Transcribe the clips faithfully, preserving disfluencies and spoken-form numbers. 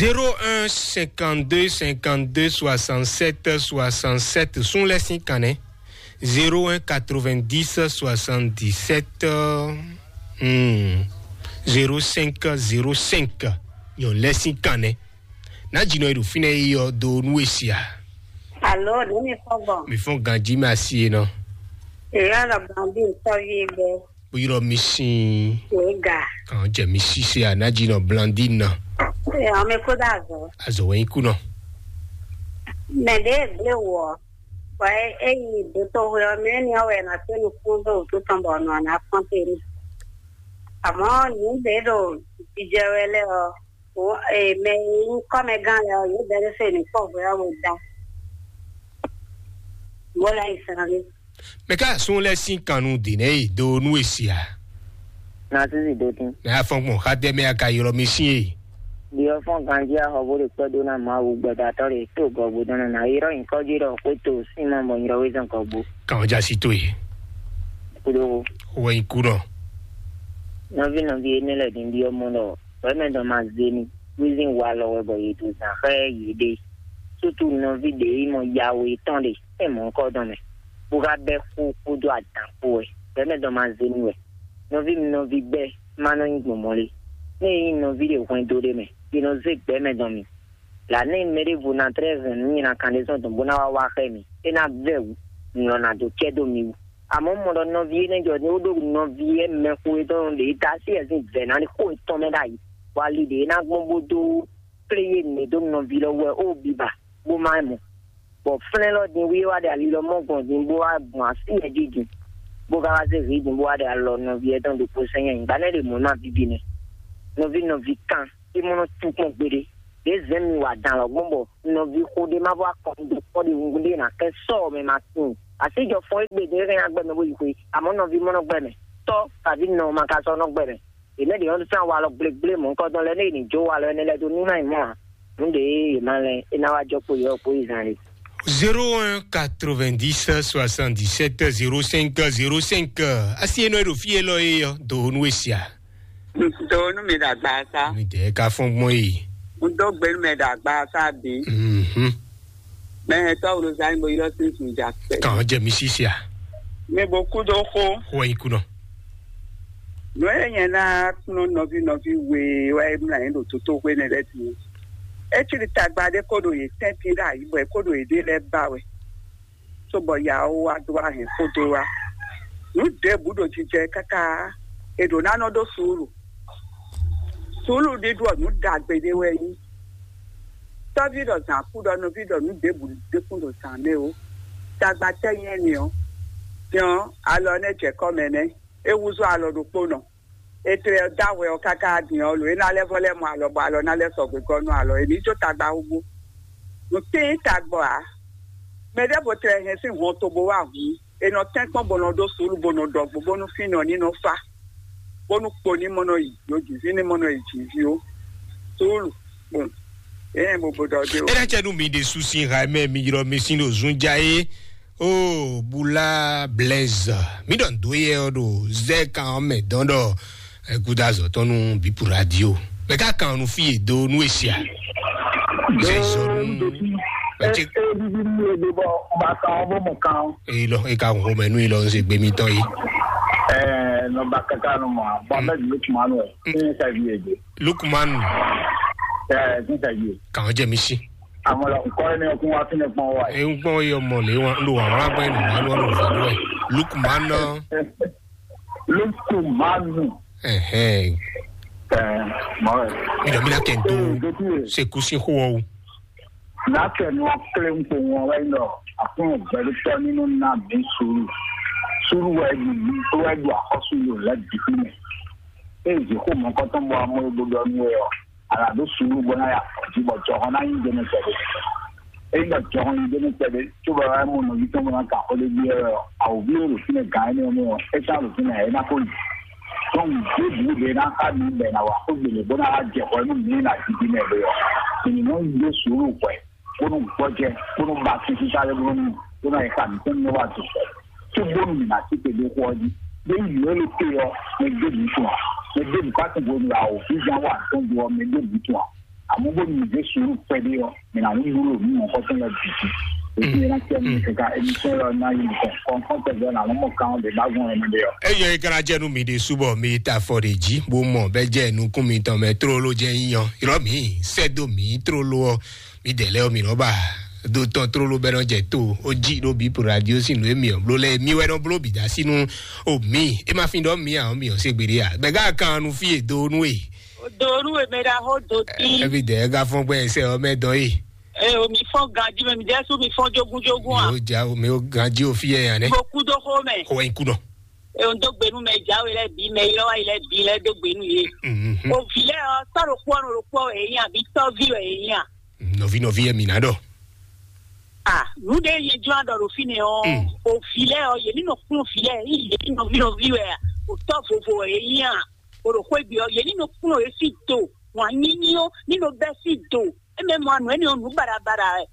Zéro un cinquante-deux cinquante-deux soixante-sept soixante-sept, sun lɛ sín kan nɛ́. Zéro un quatre-vingt-dix soixante-dix-sept, hmm, zéro cinq zéro cinq. Nyɔ lɛ sín kan nɛ́. Ná jinɔ e ɖo fínɛ́ yi ɔ do nú e sia. Alo, ɖě mi fɔ gbɔn? Mi fɔn ganji mɛ asi e nɔ. Èyí ɔlɔ gbɔn bí nsɔvi gbɛ. Bó ylɔ mi sín. Wòye ga. Kàn jẹ mi sísè ànájì nɔ blandina. Ẹ, ame kó dá azɔ. Azɔ wɛ nyi kú nɔ. Mɛ ɖe gblé wɔ. Bɔ e yi dotoxwe ɔ mɛ ni ɔwɛ na se nukún ɖo wútu tɔn bɔ nɔ na kpɔn te ni. Àmọ́ nǔ ɖě ɖo jijɛ wɛ lɛ ɔ, mɛ e nyí kɔ́mɛgán lɛ ɔ, yě bɛ́ se nǔ kpɔ́ hwɛ ɔ́ wɛ da. Bó lɛ yi sàn lé. Mɛ ká sún lɛ sín kannú dě nɛ́ yi dó nú e sia. Na sísì dó tín. Mɛ afɔn gbɔn xá dɛ mɛ a ka ylɔ mi sín e. Ɖiɔ fɔ́n ganjí axɔ bó ɖe kpɛ́ dó ná Mawu gbɛdatɔ́ ɖe tó gɔgbo dɔn ná yrɔ́ nyǐkɔ jí ɖɔ xwé to sín ma bɔ nyrɔ wé zɔn gɔgbo. Kàn ɔ́ já sí tó e. Kúɖó. Wɛ nyi kú nɔ. Nɔví nɔví énɛ́ lɛ́ɛ din ɖiɔ mɔ ɖɔ wɛ̌mɛ dɔn ma zé ní wízín walɔ wɛ bɔ yě dó zǎn xá yěɖée. Sútu nɔví ɖě yi mɔ yawe tɔn ɖe. É mɔ̌ kɔ dɔn mɛ, bó ka bɛ́ xó kpódó adǎn kpó wɛ, gbɛ̌mɛ dɔn ma zé nú wɛ. Nɔví mi nɔví gbɛ́ má nɔ nyí gbɔn mɔ̌ lé. Nú è nyí nɔví ɖe hwɛndo ɖé mɛ, è nɔ zé gbɛ̌mɛ dɔn mi. Lǎ nɛ́ mɛ ɖěvo ná tlɛ́ hɛn nǔ nyi kan ɖé zɔn dɔn bó ná wá wá xá mi, é ná vɛ́ wǔ, nǔ lɔ ná dó cɛ dó mi wú. Àmọ́ mɔ ɖɔ nɔví énɛ́ jɔ ní ó ɖó nɔví e mɛxó e tɔn ɖě dó así ɛ sín vɛ̌ ná ní xó yětɔn mɛ ɖ'ayǐ, bɔ ali ɖě ná gbɔn bó dó kplé yé mɛ dó nɔví lɔ wɛ ó biba bó má mɔ. Bɔ flɛ́n lɔ din wí wá ɖe ali lɔ mɔ gbɔn din bó wá gbɔn así yɛ jí din, bó ka wá zé hǐ din bó wá ɖe alɔ nɔví yɛ tɔn ɖokpó sɛn nyɛ nyǐgba nɛ́ ɖe mɔ̌ ná bíbí nɛ́. Nɔví nɔví kan é mɔ nɔ tú kpɔ́n gbeɖé. Ɖě zɛ̌n mi wa dan lɔ gbɔn bɔ nɔví xó ɖé má vɔ akɔn dó kpɔ́ ɖi wungun ɖé ná kɛ sɔ mɛ ma sin. Asíjɔ fɔn égbé ɖě hɛn agbɛ mɛ bó yi xwe, àmọ́ nɔví mɔ nɔ gbɛ mɛ. Tɔ́ kaví nɔ ma ka sɔ nɔ gbɛ mɛ. Yě mɛ ɖě ɔ́ sán walɔ gblégblé mɔ̌hunkɔtɔn lɛ́ɛ nú yě ní jó walɔ énɛ́ lɛ́ɛ dó nú ná nyí mɔ̌ ǎ. Nǔ ɖě yě ma lɛ́n é ná wá jɔ kpo yɔ kpo yi zan lé. Zéro un quatre-vingt-dix soixante-dix-sept zéro cinq zéro cinq. Asi e nɔ e ɖo fí élɔ́ é ɔ́, do nú e sia. Do nú mi ɖo agba sá. Mi dɛ ka fɔn gbɔn yi. N dó gbe nú mi ɖo agba sá bí. Mhm. Mɛ tɔ́ wlo zan bo ylɔ́ sín sùn jà pɛ. Kàn jẹ mi sísè a. Mi bo kú dó xó. Xó yin kú nɔ. Nǔ e nyɛ ná kplɔ́n nɔví nɔví we wɛ é mlá yín ɖo tótóxwé nɛ́ lɛ́ɛ din. É cí ɖi tagba ɖé kó ɖo yě tɛ́ntin ɖo ayǐ bɔ é kó ɖo yěɖée lɛ́ɛ ba wɛ. Cóbɔ yawo wá dó wá hɛn xó dó wá. Nǔ ɖěbǔ ɖo jijɛ káká, è ɖǒ ná nɔ ɖó suúlu. Suúlu ɖíɖú ɔ́, nǔ ɖagbe ɖé wɛ é nyí. Tɔ́ví ɖɔ zǎn kú ɖɔ nɔví ɖɔ nǔ ɖěbǔ ɖé kún ɖo zǎn mɛ ó. Tagba tɛ́ nyí ɛnɛ ɔ́, din ɔ́, alɔ nɛ́ jɛ kɔ́ mɛ nɛ́, é húzú alɔ ɖokpónɔ. È tlɛ dó ahwɛ ɔ́ káká din ɔ́, lo é ná lɛ́ vɔ lɛ́ mɔ alɔ bɔ alɔ ná lɛ́ sɔgbe gɔ́ nú alɔ, è ní jó tagba hú bó. Nǔ tíin tagbɔ ǎ. Mɛ ɖěvo tlɛ hɛn sín hɔn tobo wá hǔn, è nɔ tɛ́nkpɔ́n bó nɔ ɖó suúlu bó nɔ ɖɔgbo bónú fínɔ ní nɔ fá, bónú kpo ní mɔ nɔ yi yǒjǐví ní mɔ nɔ yi jǐví ó. Suúlu, kpɔn, é hɛn bo bo ɖɔ dé ó. Ena cɛ nú mi ɖe susi ha mɛ mi ylɔ mi sín ɖo zunja é. O bula Blaise, mi ɖɔ ndo yɛ ɔ ɖo zɛ kan ɔ mɛ dɔn ɖɔ ɛguda zɔtɔn nu bipu radio. Mɛ ka kan nu fi do nu esia. Zɛ zɔ nu. Ɛ ɛ bibi nu le bɔ ba kan ɔ bɔ mɔ kan. Eyi lɔ eka ho mɛ nu yi lɔ nse gbe mi tɔn yi. Ɛ nɔ ba kaka nu mɔ bɔ mɛ dulu tuma nu ɛ. Ní sɛ vi ege. Lukman. Ɛ ní sɛ vi. Kàn jẹ mi sí. Àmọ́ la nkọ́ ẹni ọkùn wa fínẹ̀ pọ́n wa. Ẹ ń gbọ́n yọ mọ̀ lé wọn ló wà wọn agbẹ́ nù wọn lọ́wọ́ lọ́wọ́ lọ́wọ́. Lukman náà. Lukumanu. Ẹ̀hẹ́n. Ẹ mọ ẹ. Mi dọ̀ mi náà kẹ́ ń tó. Ẹ ẹ dẹ́kun yẹ. Ṣe kú sí hó ọ. Lákẹ́ ni wọ́n kílẹ̀ ń pò wọn wáyé lọ. Àkúrò bẹ̀rù tọ́ nínú náà bí sùúrù. Sùúrù wáyé ju wáyé ju àkọ́sùn yòó lẹ́bi fún mi. Ẹ ẹ jẹ́ kó mọ̀ kọ́tọ́ mọ́ amúlódó lọ́nú ẹ ọ. Alado sùúrù bó ná yà kɔ̀jí bɔ jɔhɔn ná nyí jẹnɛ pɛ̀lú. Eyi bɔ jɔhɔn nyí jẹnɛ pɛ̀lú tó bá wá mú nɔví tó bá ká xɔ lé bí ẹ awòbí yóò lò fínɛ gàn ẹni ọmọ ẹ sá lò fínɛ ẹ ná kó yìí. Tɔn dé bú de ná ká mi bẹ̀ ná wà kó gbèlè bó ná wá jẹ xɔ inú mi ná didi mɛ bẹ yọ. Ènìyàn ń gbé sùúrù pẹ̀ kónú gbọ́jẹ kónú ba títí sáré bónú kónú ẹ̀ka mi kónú wà tó pẹ̀. Tó bónú mi ná sí pé dé kó ọjí. Bẹ́ẹ̀ yìí ló lè pé ọ mẹ dé mi tún à. Mẹ dé mi ká tó bónú ra o. Ìjà wà tó bu ọ mẹ dé mi tún à. Àmọ́ bó ní ìdí sùúrù pɛ́lú ɔ, mɛ náà ń wúlò ní ọkọ tó lọ bìtì. Èyí ẹ náà tẹ́ mi kẹ̀kẹ́ ẹni tó lọ náà yìí nìkan kọ̀ọ̀kan tẹ̀gbẹ́ náà wọ́n mọ̀ káwọn lè bá gbọ́n ẹni dé ọ. Eyɔ yi kana jɛ nu mi de subɔ mi ta fɔ de ji bo mɔ bɛ jɛ nukun mi tɔn mɛ trolo jɛ yiyan irɔ mi sɛ do mi trolo ɔ mi dɛ lɛ ɔ mi rɔba do tɔn trolo bɛ nɔ jɛ to o ji ɖo bi po radio si nu emi ɔ blo lɛ mi wɛ nɔ blo bi da si nu o mi e ma fi ɖɔ mi a ɔ mi ɔ se gbe de a bɛ ga kan nu fi e do nu e. Odoru emera ho doti. Ebi dɛ ega fɔn gbɛ ɛsɛ ɔ mɛ dɔn yi. E o mi fɔn ganji mɛ mi dɛ su mi fɔn jogun jogun a. Mi o ja o mi o ganji o fi yɛ yan nɛ. Mo ku do xo mɛ. Xo wɛ ku nɔ. E o n do gbenu mɛ jawe lɛ bi mɛ yɔ wa yi lɛ bi lɛ do gbenu ye. Mhm. O vi lɛ ɔ tɔ ɖo kpɔ ɖo kpɔ e yin abi tɔ vi wɛ e yin a. Nɔvi nɔvi yɛ mi na dɔ. A nu de ye jɔ adɔ ɖo fi nɛ ɔ. Mm. O vi lɛ ɔ ye ni nɔ kplɔn vi lɛ yi ye ni nɔvi nɔvi wɛ a. O tɔ vovo wɛ e yin a. O ɖo xwé gbe ɔ ye ní nɔ kplɔ́n yě sín do wǎn nyínyí ɔ́ ní nɔ bɛ́ sín do. É mɛ mɔ anǔ énɛ́ ɔ́ nǔ baɖabaɖa wɛ.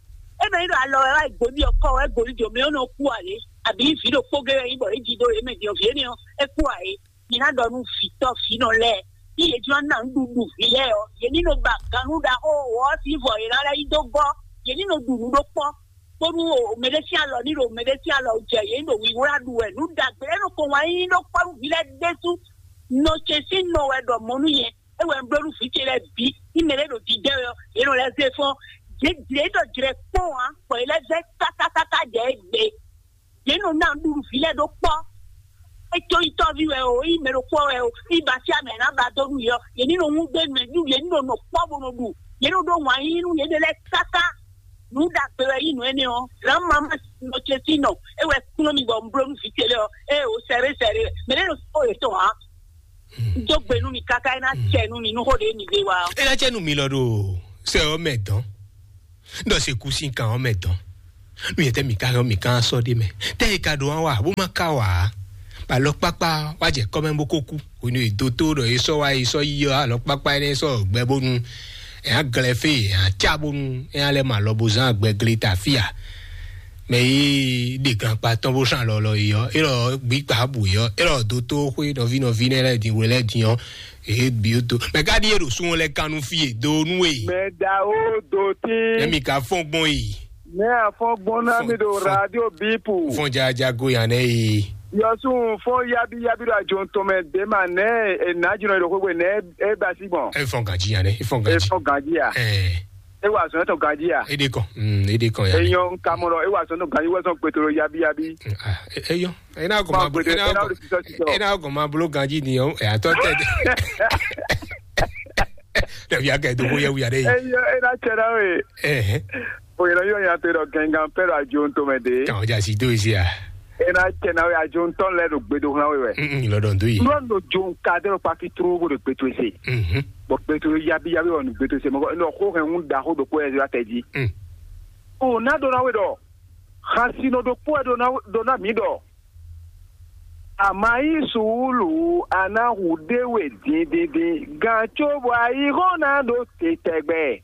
É mɛ ní ɖo alɔ wɛ wá yi gbo n'i ɔ́ kɔ wɛ gbo ní jǒ mɛ ɔ́ nɔ kú ǎ lé? Abǐ vǐ ɖokpó gé wɛ nyí bɔ é jí dó yě mɛ din ɔ́, vǐ énɛ́ ɔ́ é kú ǎ é? Nyɛ ná ɖɔ nú vǐtɔ́ vǐnɔ lɛ́ɛ ní yě jló ná nǔɖuɖu vǐ lɛ́ɛ ɔ́, yě ní nɔ ba gannú ɖaxó wǒ ɔ́ sín vɔ yě ná lɛ́ yí dó gɔ́. Yě ní nɔ ɖu nǔ ɖó kpɔ́ bónú mɛɖé sín alɔ ní ɖo mɛɖé sín alɔ jɛ yě ɖo wiwlá ɖu wɛ nǔ ɖagbe é nɔ ko wǎn yíyí ɖó kpɔ́ nú vǐ lɛ́ɛ ɖésú. Nɔ ce sín nɔ wɛ ɖɔ mɔ̌ nú nyɛ. É wɛ un bló nú vǐ ce lɛ́ɛ bǐ ní mɛ ɖé ɖo jijɛ wɛ ɔ́, yě nɔ lɛ́ zé fɔ́n. Jě jlě ɖɔ jlɛ kpɔ́n ǎ, bɔ yě lɛ́ zɛ kákákáká jɛ égbé. Yě nɔ ná nǔɖuɖu vǐ lɛ́ɛ ɖó kpɔ́. É có nyí tɔ́ví wɛ o, é nyí mɛ ɖokpó wɛ o, é nyí basyá mɛ ná ba dó nú yě ɔ́, yě ní nɔ wún gbé nú yě, yě ní nɔ nɔ kpɔ́ bó nɔ ɖu. Yě nɔ ɖó wǎn yíyí nú yěɖée lɛ́ɛ káká. Nǔ ɖagbe wɛ nyí nǔ énɛ́ ɔ́. Lǎn mamá nɔ ce sín nɔ, é wɛ kplɔ́n mi bɔ un bló nú vǐ ce lɛ́ɛ ɔ́, ée o sɛɖé sɛɖé wɛ. Mɛ ɖé nɔ sɔ́ yětɔn ǎ. Dó gbe nú mi káká, é ná cɛ nú mi nú xó ɖě mi ɖe wá ɔ́. É ná cɛ nú mi lɔ ɖo sɛ ɔ́ mɛ dɔn. Ɖɔ se kú sín kan ɔ́ mɛ dɔn. Nú yɛtɛ mi ka yɔ mi kan sɔ ɖe mɛ. Tɛ yi ka ɖo wa bó ma ka wa. Ba lɔ kpakpa wa jɛ kɔmɛ bó ko kú. Onu e do tó ɖɔ e sɔ wa e sɔ yi ɔ́ alɔ kpakpa énɛ́ sɔ gbɛ bónú. Ɛ á glɛ fé ɛ á cá bónú ɛ á lɛ ma lɔ bó zán gbɛ glé ta fia. Mɛ yi ɖe gankpa tɔn bó sàn lɔlɔ yi ɔ́, é lɔ gbígbà bù yi ɔ́, é lɔ do tó xwé nɔví nɔví nɛ lɛ din wɛ lɛ din ɔ́. Ee bi o to. Mɛ ka ɖi e ɖo sun lɛ kanu fi e do nu e. Mɛ da o do tí. Emi ka fɔn gbɔn yi. Mɛ afɔn gbɔn na mi do radio bipu. Fɔn jaja go yan nɛ yi. Yɔsun fɔn yabi yabi do ajo tɔn mɛ de ma nɛ e na jina do xwegbe nɛ e ba si gbɔn. E fɔn gaji yan nɛ, e fɔn E gaji. Fɔn gaji ya. Ɛɛ. E wa zɔn tɔn gaji ya. E de kɔn, mm, e de kɔn yan nɛ. Eyan kamɔ lɔ e wa zɔn tɔn gaji wɛ zɔn gbetolo yabi yabi. Ah, e- eyɔn. E na gɔn ma blo, e na gɔn, e na gɔn ma blo ganji ni o. E atɔ tɛ. Ɖevi akɛ do ko yɛ wuya ɖe. Eyo e na tsɛ na we. Eh. O yɛrɛ yɔ ya te dɔ gɛngan pɛ dɔ ajo ntɔ mɛ de. Kan o ja si do isi a. E na tsɛ na we ajo ntɔ lɛ do gbedo hlan we wɛ. Mm, lɔ dɔn do yi. Lɔ do jo nka de dɔ paki tru bo de gbeto ese. Mhm. Bɔ gbeto yabi yabi wɔ nu gbeto ese mɔ nɔ ko hɛn un da ko do ko yɛ la tɛ ji. Mm. O na do na we dɔ. Xasinɔ ɖokpó wɛ ɖo ná ɖo ná mǐ ɖɔ: a ma yí suúlu, a ná hu ɖé we dindindin, gǎn cóbɔ ayihɔ́n ná ɖo te tɛgbɛ.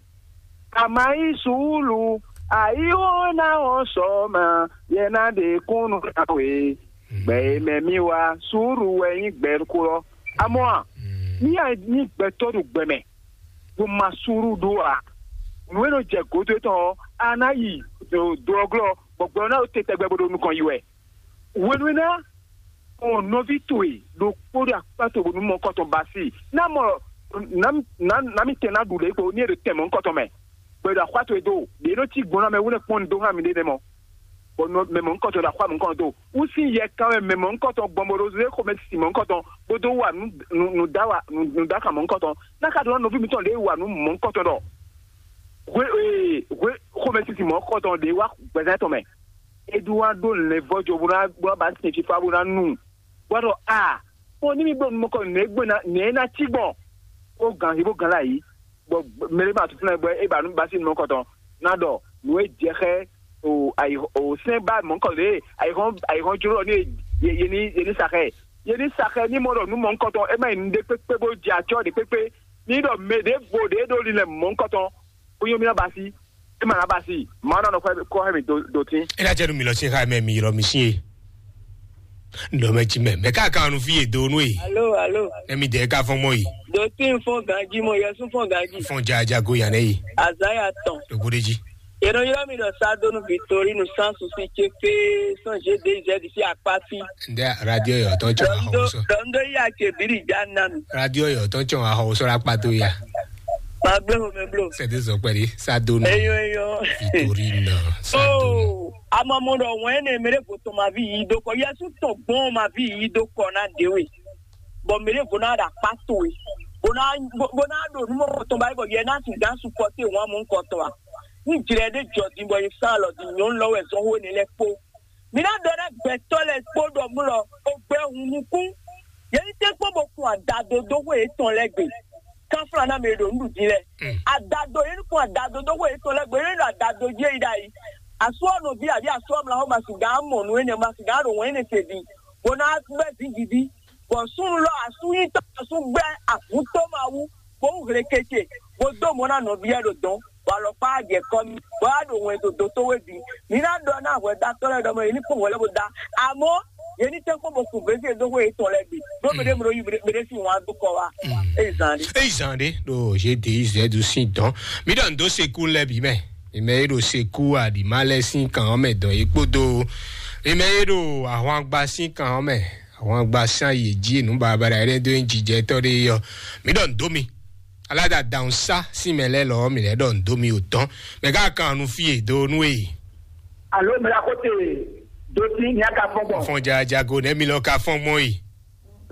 A ma yí suúlu, ayihɔ́n ná wɔn sɔ ma, yɛ ná ɖe kúnnu ná we. Gbɛ e mɛ mì wá, suúlu wɛ nyí gbɛ kú ɔ́. Amɔ̌ a, ní a nyí gbɛtɔ́ ɖo gbɛ mɛ, bó ma suúlu ɖó ǎ. Nǔ e nɔ jɛ gǒdo tɔn ɔ́, a ná yi do ɔ́ glɔ́, bɔ gbɛ ɔ́ ná ɖo te tɛgbɛ bó ɖo nukɔn yi wɛ. Hwenu e ná mɔ nɔví towe ɖokpó ɖo akpá towe bónú mɔ̌hunkɔtɔn ba sí i, ná mɔ ná ná ná mì tɛn ná ɖu lě kpo ní e ɖo tɛn mɔ̌hunkɔtɔn mɛ, bɔ è ɖo axwá towe dó, ɖě nɔ cí gbɔn ná mɛ wú nɛ́ kpɔ́n un dó hán miɖée nɛ́ mɔ, bɔ nɔ- mɛ mɔ̌hunkɔtɔn ɖo axwá mɔ̌hunkɔtɔn dó. Wú sín yɛ kan wɛ mɛ mɔ̌hunkɔtɔn gbɔn bó ɖó zé xomɛ sísí mɔ̌hunkɔtɔn, bó dó wa nǔ nǔ nǔ dá wa nǔ nǔ dá kan mɔ̌hunkɔtɔn. Ná ka ɖó ná nɔví mitɔn ɖě wa nǔ mɔ̌hunkɔtɔn ɖɔ hwe ee hwe xomɛ sísí mɔ̌hunkɔtɔn ɖě wá gbɛzán tɔn mɛ. Eduardo lɛ́ vɔ́ jo bó ná bó ná ba sin fífá bó ná nu. Bó ná ɖɔ a, xó ní mì bló nú mɔkɔ nɛ̌ gbé ná nɛ̌ ná cí gbɔn. Ó gǎn hí bó gǎn lá yí. Bɔ mɛɖé ma tún fúnɛ bɔ é ba nú ba sín nú mɔkɔ tɔn ná ɖɔ nǔ e jɛ xɛ o ayi o sɛn ba mɔkɔ lě ayi hɔn ayi hɔn jló ní ye ye ní ye ní sa xɛ ye ní sa xɛ ní mɔ ɖɔ nú mɔkɔ tɔn é má yi nǔɖé kpékpé bó jɛ acɔ́ ɖě kpékpé ní ɖɔ mɛ ɖěvo ɖě ɖó linlɛ mɔkɔ tɔn. Kúnyɔ́mínà basi, é mà ná basi, màá nɔ kɔ hɛn mi dó tí. É ná jẹ́ nu mi lọ sí xá mẹ́ mi ylɔ mi sí e. Nɔ mɛ ci mɛ, mɛ ka kan nu fi e do nu e. Alo, alo. Emi de ka fɔn mɔ yi. Do tin fɔn ganji mɔ, yɛsu fɔn ganji. Fɔn ja ja go yan ne yi. Azaya tɔn. Do gode ji. Yɛrɛ yɔrɔ mi dɔ sa do nu Victorine sans souci ce fe sans G D Z si akpafi. Nde radio yo ton chon a ho so. Dɔndo ya ce biri ja na mi. Radio yo ton chon a ho so la kpato ya. Ma gbe ho me blo. C'est des opéri sa do nu. Eyo, eyo. Victorine sa do nu. Oh, ama mo dɔ wen ne mere vo to ma vi yi do ko. Yɛsu tɔn gbɔn ma vi yi do ko na de we. Bɔ mɛ ɖěvo ná ɖo akpá towe, bó ná bó ná ɖo nú mɔ kɔtɔn ba yi bɔ yɛ ná sixú supɔ́té wǎn mɔ kɔtɔn a? Ní jlɛ ɖé jɔ din bɔ yě sán alɔ din nyɔ̌nu lɔ wɛ zɔn xó énɛ́ lɛ́ɛ kpó. Mi ná ɖɔ ná gbɛtɔ́ lɛ́ɛ kpó ɖɔ mú lɔ, o gbɛ hun nukún. Yě ní tɛ́ kpɔ́n bó kun adado dó xwé yětɔn lɛ́ɛ gbe. Kanflá ná mɛ ɖo nǔɖuɖu din lɛ́ɛ. Adado yě ní kun adado dó xwé yětɔn lɛ́ɛ gbe, yě ní ɖo adado jí é yi ɖ'ayǐ. Asú ɔ́ nɔví àbí asú ɔ́ mla xó ma sixú mɔ nǔ énɛ́, ma sixú ɖo wɛ̌n énɛ́ se din, bó ná gbɛ́ zǐngídi. Bɔ súnnu lɔ asú nyí tɔn asú gbɛ́ avǔ tó ma wú, bó wú hlekece, bó dó mɔ ná nɔví lɛ́ɛ ɖo dɔ̌n, bɔ alɔkpá jɛ kɔ mì, bɔ á ɖo wɛn dó dó tó wé bǐ. Mi ná ɖɔ ná hwɛdátɔ́ lɛ́ɛ ɖɔ mɔ yě ní kpɔ́n hwɛ lɛ́ɛ bó dá. Amɔ́, yě ní tɛ́nkpɔ́n bó kun vɛ̌si dó xwé yětɔn lɛ́ɛ bǐ, ɖó mɛ ɖé mɛ ɖó yí mɛ ɖé sín wǎn dó kɔ wá. Ée zan ɖé. Eyi zan ɖé ɖo G D Z sín dɔn. Mi ɖɔ ndo sekú lɛ bǐ mɛ. Mi mɛ e ɖo sekú aɖǐma lɛ sín kan ɔ́ mɛ dɔn é kpódó mi mɛ e ɖo ahwangba sín kan ɔ́ mɛ. Àwọn agba sán yě jí nǔ baɖabaɖa ɖé dó nyí jijɛtɔ́ ɖé ɔ́, mǐ ɖɔ nǔ dó mi. Aláda dǎhùn sá sín mɛ lɛ́ɛ lɔ ɔ́, mǐ lɛ́ ɖɔ nǔ dó mi ò tɔ́n. Mɛ ká kan nu fí e dó nú e. Alo mɛ la ko te do sí ní a ka fɔn gbɔn. Fɔn jajago nɛ mi lɔ ka fɔn gbɔn yi.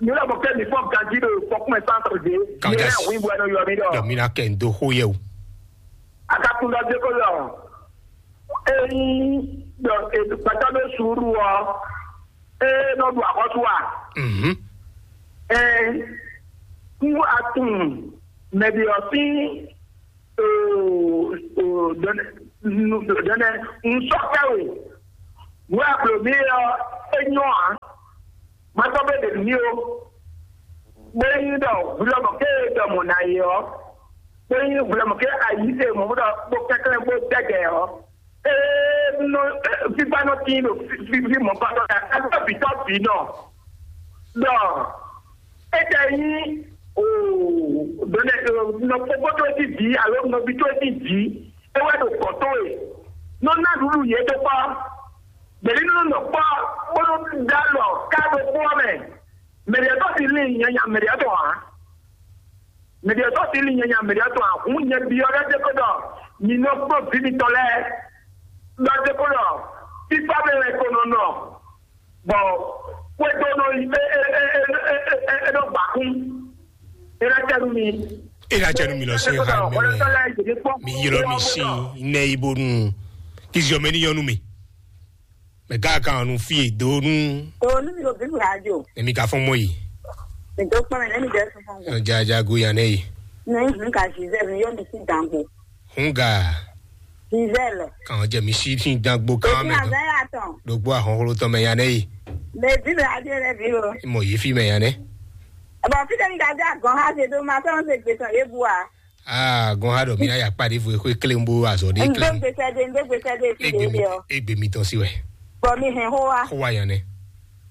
Mi lɔ bɔ kɛ mi fɔn ganji ɖo fɔkún mɛ sán tɔ dé. Kàn já mi lɛ hu ibu ɛnɔ yɔ mi ɖɔ. Dɔ mi na kɛ n do xó yɛ o. A ka kun ɖɔ dé ko lɔ. Eyi ɖɔ gbɛtɔ ɖo suuru ɔ. Ee nɔ ɖu axɔ́sú a? Mhm. Ee, nú a tunwun mɛ ɖě ɔ́ sín, oo, oo, dɔnɛ, nu, dɔnɛ, nu sɔ́ kpɛ́ we. Nǔ e a blǒ mì é ɔ́, é nyɔ́ ǎ. Ma sɔ́ bó ɖe nǔ n'i ó. Bó nyí ɖɔ hwilɔ́mɔ ké e ɖɔ mɔ̌ ná é ɔ́, bó nyí hwilɔ́mɔ ké ayǐ e mɔ̌ bó ɖɔ bó kɛnklɛ́n bó dɛgɛ ɔ́, ee nɔ fífá nɔ tín ɖo fífí mɔ̌ kpátɔ́ ká ká bǐ tɔ́ bǐ nɔ ɖɔ étɛ́ nyí o ɖɔnɛ nɔ fɔ́gbɔ́ tó jí bǐ alo nɔví tó jí bǐ é wɛ ɖo kɔ̌ tó e nɔ ná ɖuɖu yě dó kpá. Bɛ̌ ní nɔ nɔ kpɔ́ bónú dó alɔ ká ɖokpó ɔ́ mɛ. Mɛɖiɛtɔ́ sin lin nyanya mɛɖiɛtɔ́ ǎ. Mɛɖiɛtɔ́ sin lin nyanya mɛɖiɛtɔ́ ǎ. Hǔn nyɛ byɔ́ ɖɔ dé ko ɖɔ mi nɔ kpɔ́n vǐ mitɔn lɛ́ɛ. Ɖɔ dé ko ɖɔ fífá mɛ wɛ ko nɔ nɔ. Bɔ xwedó nɔ yi é é é é é é é nɔ gbǎkún. É ná tɛ nú mi. É ná tɛ nú mi lɔ sín ha mɛ wɛ. Mi ylɔ́ mi sín nɛ yi bónú kí ziɔ mɛ ní nyɔ́ nú mi. Mɛ gá kan nu fí e dó nú. O nu mi o bí mi ajo. Èmi ka fɔn mɔ yi. Mi tó kpɔn mi lẹ́nu jẹ́ fún fún. Jajago yan nɛ yi. Ní ìhun ka Giselle mi yóò mi sí dàgbò. Hun ga. Giselle. Kàn jẹ mi sí sí dàgbò kan Èmi mẹ. Àgbẹ̀ yà tán. Dogbo ahọ́n holo tán mẹ yan nɛ yi. Bèbí mi adé rẹ bí o. Mọ yìí fi mẹ yan nɛ. Ẹ̀bọ̀n fíjẹ́ mi ka dé àgàn ha ṣe tó máa fẹ́ràn ṣe gbèsè lébu a. Aa gɔn ha ɖɔ mi aya kpa ɖe vo exwe kle bo azɔ ɖe kle. Ndo gbèsè de ndo gbèsè de fi Egbe de mi de ọ. Egbe mi tɔn si wɛ. Bɔ mi hɛn ho wa. Ho wa yan nɛ.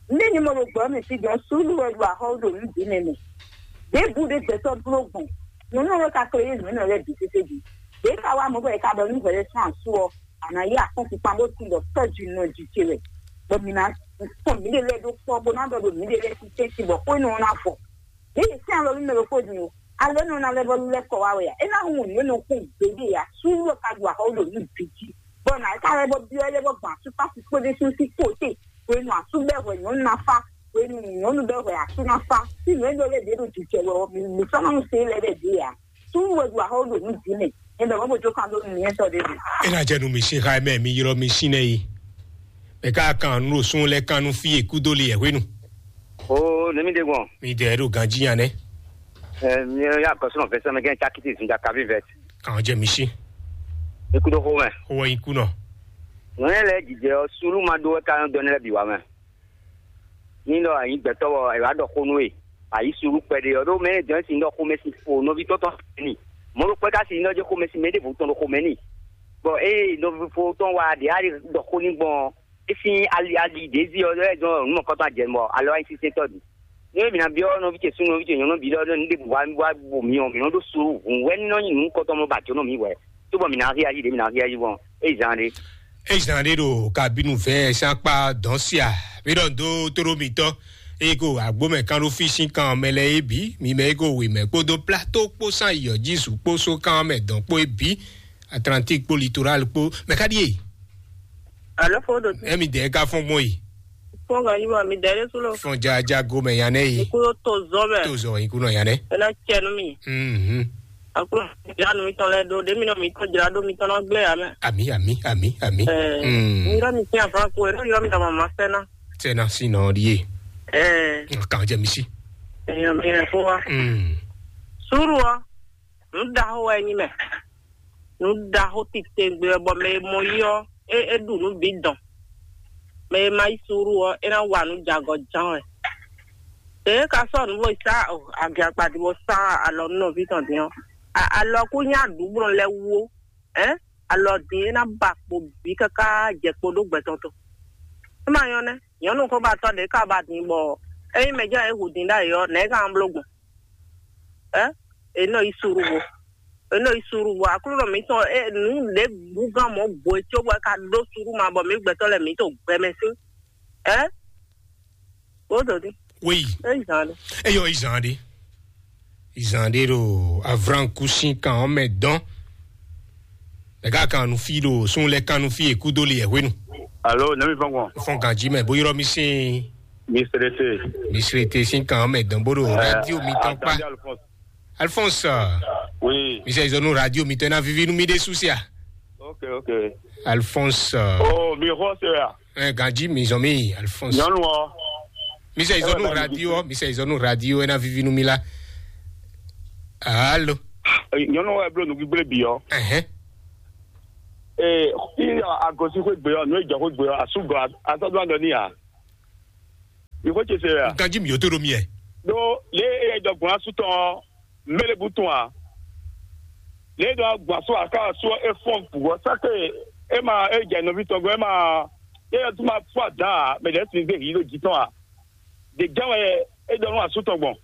Nde ni mo ɖo gbɔ mi si gbɔn sulu wɛ ɖo ahɔ ɖo nu di nɛ mɛ. De bu de gbɛtɔ blo gbɔn. Nyɔnu wɛ ka kle ye nyɔnu wɛ bi tete di. De ka wa mo bɔ e ka bɔ nu hwɛ sɔn asu ɔ. Ana yi akɔn kukpa bo ti lɔ tɔju nɔ ju ce wɛ. Bɔ mi na kpɔn mi de lɛ ɖo kpɔ bo na dɔ ɖo mi de lɛ ti tɛnti bɔ xwe nɔ na fɔ. Yě yi sɛ́n alɔ nú mɛ ɖokpó din o. Alɔ énɛ́ ɔ́ ná lɛ́ vɔ́ lɛ́ kɔ wá wɛ a? É ná hun nǔ e nɔ kún gběɖe ǎ. Súnnu ɔ́ ka ɖu axɔ́ ɖo nǔ bǐ jí. Bɔ nǎ é ka lɛ́ bɔ byɔ́ lɛ́ bɔ gbɔn asúkpákú kpódó súnnu sí kpóté. Hwenu asú bɛ́ hwɛ nyɔ̌nu ná fá. Hwenu nyɔ̌nu bɛ́ hwɛ asú ná fá. Sí nǔ e ɖɔ lɛ́ ɖě ɖo jijɛ wɛ ɔ́, mi mi sɔ́ ná nu se lɛ́ ɖɛ ɖě ǎ. Súnnu wɛ ɖu axɔ́ ɖo nǔ bǐ mɛ. Ɛ bɛ mɔ bó jó kan dó nǔ nyɛ́tɔ́ ɖé ɖo. Ena jɛ nu mi si xa mɛ mi ylɔ mi si nɛ yi. Mɛ ka kan nu ɖo sun lɛ kan nu fi e kudo li yɛ hwenu. O ne mi de gbɔn. Mi de ɖo ganji yan nɛ. Ɛ mi ya kɔsɔnɔ vɛsɛ mɛ gɛn cakiti zinda kavi vɛt. Kan jɛ mi si. Ikudo xo mɛ. Xo wɛ iku nɔ. Nɔ yɛ lɛ jijɛ ɔ sulu ma do wɛ ka dɔ ne lɛ bi wa mɛ. Ní ɖɔ a nyǐ gbɛtɔ́ bɔ è wǎ ɖɔ xó nú we, a yǐ suɖú kpɛɖé ɔ́, ɖó mɛ e dɔn é sin ɖɔ xomɛ sin fo nɔví tɔn tɔn n'i. Mɔ̌ ɖokpɛ́ ka sin ɖɔ jɛ xomɛ sin mɛ ɖěvo tɔn ɖo xomɛ n'i. Bɔ ée nɔví fo tɔn wá ɖě á ɖe ɖɔ xó n'i gbɔn ɔ́, É sín ali ali ɖě zi ɔ́ lɛ́ zɔn nǔ mɔ̌kɔtɔn ajɛ mɔ alɔ ayisínsɛntɔ́ ɖi. Nú mǐ ná byɔ́ nɔví ce súnnu nɔví ce nyɔ̌nu bǐ ɖɔ ɖɔ nǔ ɖěbǔ wá wá bo mǐ ɔ́, mǐ nɔ́ ɖó slú hǔn wɛ ní nɔ́ nyí nǔ kɔtɔn mɔ ba jǒ nɔ mǐ hwɛ̌, cóbɔ mǐ ná hí ali ɖě mǐ ná hí ali gbɔn é zán ɖé. É zán ɖé ɖo kabinu vɛ́ sán kpá dɔn sia. Mí ɖɔ dó tóɖó mitɔn. Eye ko agbómɛ kan ɖó fí sín kan mɛ lɛ é bǐ. Mi mɛ é ko wěmɛ kpódó plato kpó sán yɔ Jisu kpó só kan mɛ dɔn kpó é bǐ. Atlantique kpó litoral kpó mɛ ká ɖíe. Alo fo ɖo te. Emi dɛ ka fɔn gbɔn yi. Fɔn gan yi ma mi dɛ ɖe su lo. Fɔn ja ja go mɛ yan nɛ yi. Iku yo to zɔ mɛ. To zɔ iku nɔ yan nɛ. Ena cɛ nu mi. Mhm. Aklo ja nu mi tɔn lɛ do de mi nɔ mi tɔn jra do mi tɔn na gblɛ ya mɛ. Ami ami ami ami. Ɛɛ. Mm. Mi yɔ mi tiɲɛ fana ko ero yɔ mi dama ma fɛ na. Sɛ na si nɔ ɖi ye. Ɛɛ. Kan jɛ mi si. Ɛyɔ mi yɛ fo wa. Mm. Suru wa. Nǔ ɖaxó wɛ nyí mɛ. Nǔ ɖaxó titewungbe wɛ bɔ mɛ e mɔ yí ɔ́, é é ɖu nǔ bǐ dɔn. Mɛ e ma yí suúlu ɔ́, é ná wa nǔ jɛ agɔ ján wɛ. Ě é ka sɔ́ nǔ bó yi sá agi akpadi bó sá alɔ nú nɔví tɔn din ɔ́, a- alɔ kú nyí aɖǔblɔ́ lɛ́ɛ wú ó. Ɛ̌, alɔ din é ná ba kpo bǐ káká jɛ kpo ɖó gbɛtɔn tɔn. É ma nyɔ́ nɛ́, nyɔ̌nu xóbatɔ́ ɖě ka ba din bɔ ényí mɛ jɛ́n é hu din ɖ'ayǐ ɔ́, nɛ̌ é ka ná bló gbɔn? Ɛ, è nɔ yi suɖu vo. È nɔ yi suɖu vo. Aklúnɔ mǐtɔn, ɛ, nǔ ɖě bú gán mɔ̌ gbo e có bɔ é ka ɖó suɖu ma bɔ mǐ gbɛtɔ́ lɛ́ɛ mǐ to gbɛ mɛ sín. Ɛ, wǒ dǒ dí. Oui. É yi zǎn ɖé. Eyɔ izan ɖe. Izan ɖe ɖo avranku sín kan ɔ́ mɛ dɔn. Mɛ ká kan nu fí ɖo sún lɛ kan nu fí e kúdó li yɛ hwenu. Alo, nɛmi fɔn gbɔn. Fɔn ganji mɛ bó yrɔ mi sín. Mistrete. Mistrete sín kan ɔ́ mɛ dɔn bó ɖo radio mi tɔn kpá. Alphonse. Alphonse. Oui. Mi sɛ izɔnu radio mi tɔn na vivi nu mi ɖe susia. Ok, ok. Alphonse. Oh, mi xɔ se ya. Ɛ ganji mi zɔn mi Alphonse. Nyɔnu ɔ. Mi sɛ izɔnu radio, mi sɛ izɔnu radio ena vivi nu mi la. Alo. Nyɔnu ɔ eblo nu gbígbé bi ɔ. Ɛhɛn. Ee, i agosi xwé gbé ɔ, nu ejɔ xwé gbé ɔ, asúgɔ asɔdún adɔ ní ya. Mi xwé ce se ya. Ganji mi yótó ɖo mi yɛ. Ɖó lě e e jɔ gbɔn asú tɔn ɔ́, mele bu tɔn a. Lě e ɖɔ gbɔn asú aká asú ɔ́, é fɔn bǔ ɔ́, sáké é ma é jɛ nɔví tɔn gɔ́, é ma é yɔ tún ma fún adǎn a, mɛ ɖɛ̌ sin zé hǐ ɖo jǐ tɔn a. Ɖě jɛ́n wɛ é ɖɔ nú asú tɔn gbɔn.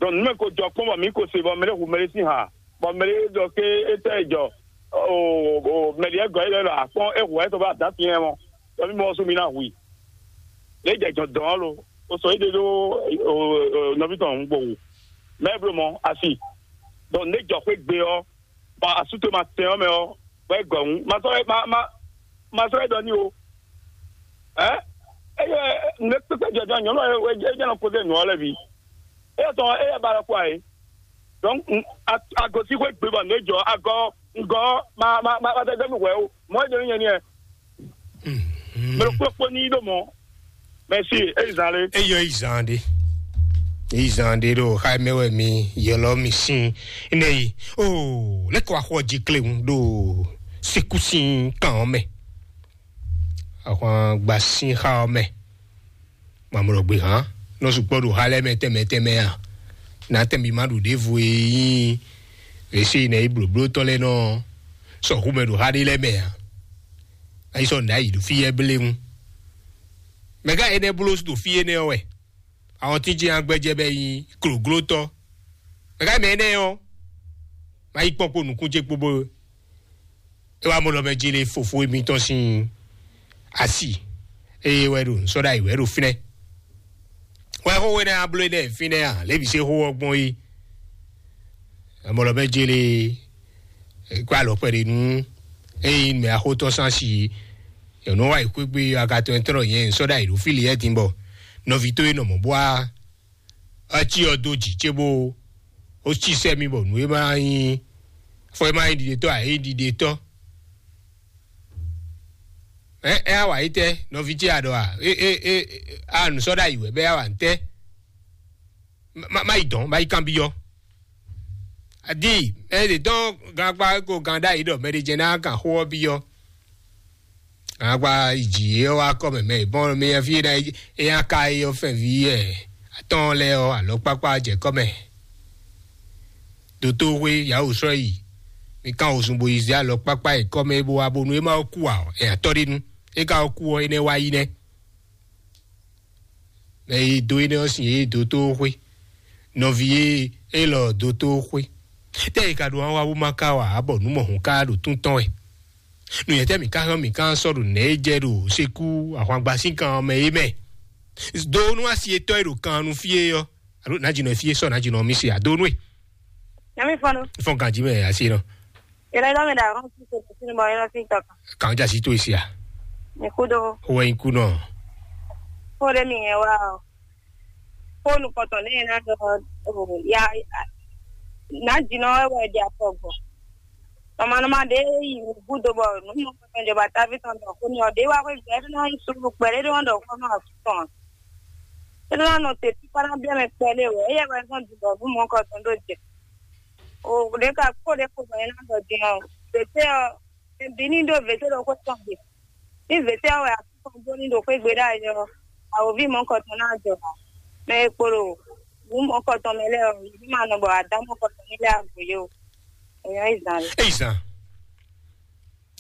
Ɖɔ nǔ mɛ ko jɔ kpɔ́n bɔ mǐ ko se bɔ mɛ ɖé hu mɛ ɖé sín ha, bɔ mɛ ɖé ɖɔ ké é tɛ jɔ o o mɛ ɖě gɔ́ é ɖɔ akpɔ́n é hu wɛ é tɔn bá adǎn sin ɛ mɔ. Ɖɔ mí mɔ ɔ́ sú mi ná hu i. Lě jɛ jɔ̌ dɔn ɔ́ lo, o sɔ éɖé ɖó nɔví tɔn hǔn gbɔn wǔ. Mɛ e bló mɔ asi, ɖɔ nǔ e jɔ xwé gbe ɔ́, bɔ asú towe ma tɛn ɔ́ mɛ ɔ́, bɔ é gɔ̌ hǔn. Ma sɔ́ ma ma ma sɔ́ é ɖɔ n'i o. Ɛ, eye nǔ e kpékpé jɔjɔ nyɔ̌nu ɔ́ é jɛ nɔ kpódó nǔ ɔ́ lɛ́ɛ bǐ. Éyɛ́ tɔn ɔ́, éyɛ́ ba ɖɔ kpó ǎ é. Donc, agɔ̌síxwé gbe bɔ nǔ e jɔ agɔ ŋgɔ ma ma ma ma dɛdɛ mi hwɛ o. Mɔ e jɛ mi nyɛ ni ɛ. Mɛ ɖokpó kpó ní ɖó mɔ. Mɛsi, eyi zan lé. Eyɔ yi zan ɖe. Yi zan ɖe ɖo xa mɛ wɛ mi yɔlɔ mi sin. Ne yi o lɛkɔ axɔ ji kle ŋu ɖo seku sin kan mɛ. Axwan gba sin xa mɛ. Mamlɔ gbe hã nɔ sukpɔ ɖo xa lɛ mɛ tɛmɛ tɛmɛ a? Na tɛn bi ma ɖu ɖevo e nyí ese yi nɛ yi blǒbló tɔn lɛ nɔ sɔxu mɛ ɖo xa ɖé lɛ mɛ a? Ayi sɔ nda yi ɖo fí yɛ blé ŋu. Mɛ ka enɛ bló ɖo fí enɛ ɔ́ wɛ? Àwọn tí jẹ́ agbɛjɛ bɛ yi klǒglótɔ́. Mɛ ka mɛ enɛ ɔ́? Ma yi kpɔ́n kpó nukún ce kpó bó. E wá mɔ lɔ mɛ jele fofo mitɔn sin asi. Eye wɛ ɖo nsɔɖa yi wɛ ɖo finɛ. Wɛ xó wɛ nɛ abló nɛ finɛ a? Lebi se xó ɔgbɔn yi. Amɔ lɔ mɛ jele kó alɔ kpɛ ɖe nu. Eye mɛ axótɔ san si. Yɔnu wa yi kpékpé agatɔ ɛtɔn yɛn nsɔɖa yi ɖo fili yɛ din bɔ nɔvi tó yi nɔ mɔ bua. Eci ɔ dó jǐ ce bó ó cí sɛ́ mì bɔ nǔ e ma nyí fɔ e ma nyí ɖiɖetɔ́ ǎ é nyí ɖiɖetɔ́. Ɛ ɛ á wǎ yi tɛ́ nɔví ce a ɖɔ a é é é a nǔ sɔ́ ɖ'ayǐ wɛ bɔ é á wǎ ntɛ́. Má má yi dɔn má yi kanbyɔ́. Adi ɛ ɖě dɔn gankpá ko gan ɖ'ayǐ ɖɔ mɛ ɖé jɛ ná kan xó ɔ́ byɔ́. Agba yi dzi yě ɔ́ wá kɔ mɛ mɛ bɔn mɛ fí ná é nya ka é ɔ́ fɛn ví ɛ atɔn lɛ ɔ́ alɔ kpákpá jɛ kɔ mɛ. Dotoxwé yawu srɔ́ yi mi kan osun bo yi zé alɔ kpákpá yi kɔ mɛ bo wá bónú é má kú ǎ ɛ atɔ́ ɖé nu. É ka kú ɔ́, énɛ́ wá yi nɛ́. Mɛ e dó énɛ́ ɔ́ sin yě dó tó xwé. Nɔví e élɔ́ dó tó xwé. Tɛ́ è ka ɖo an wá bó má ka wa ǎ bɔ nǔ mɔ̌hun ka ɖo tún tɔn wɛ? Nǔnyɛtɛ́ mǐ ka hɛn mǐ ka sɔ́ ɖo nɛ̌ e jɛ ɖo sekú ahwangba sín kan ɔ́ mɛ é mɛ? Do nú asi etɔ́ e ɖo kan nu fí e ɔ́, alo nǎjínɔ fí e sɔ́ nǎjínɔ mì se ado nú e. Nyami fɔnu. Fɔn ganji mɛ asi nɔ. Yɛlɛ dɔ mi da ɔn si se si mɔ yɛlɛ si tɔ kan. Kan ja si to esi a. Mi ku do. Wɛ in ku nɔ. Ko de mi yɛ wa o. Ko nu kɔtɔ ne na dɔ o ya. Nǎjínɔ wɛ wɛ di afɔ gbɔ. Nɔmanɔma ɖe yi gúdo bɔ nǔ mɔ kɔtɔn jɔba táví tɔn dɔ xó ni ɔ ɖe wá xwé gbɛ ɖe nɔ yi sulu kpɛ ɖe ɖe wɔn dɔ xó nɔ asú tɔn. Ɖe nɔ nɔ te tí kpáná bia mɛ kpɛ ɖe wɛ eye wɛ zɔn dundɔ nǔ mɔ kɔtɔn ɖo jɛ. O ɖe ka kó ɖe kó bɔ yẹn na dɔ din ɔ vete ɔ ebi ní ɖo vete ɖo xó tɔn gbe. Ní vete ɔ wɛ asú tɔn bó ní ɖo xwé gbe ɖe ayɔ awoví mɔ kɔtɔn ná jɔ ha. Mɛ e kpo ɖo nǔ mɔ kɔtɔn mɛ lɛ ɔ yě ní ma nɔ bɔ adá mɔ kɔtɔn ní lɛ agbǒ yó. Èèyàn ìzàn rẹ̀. Èyí zan.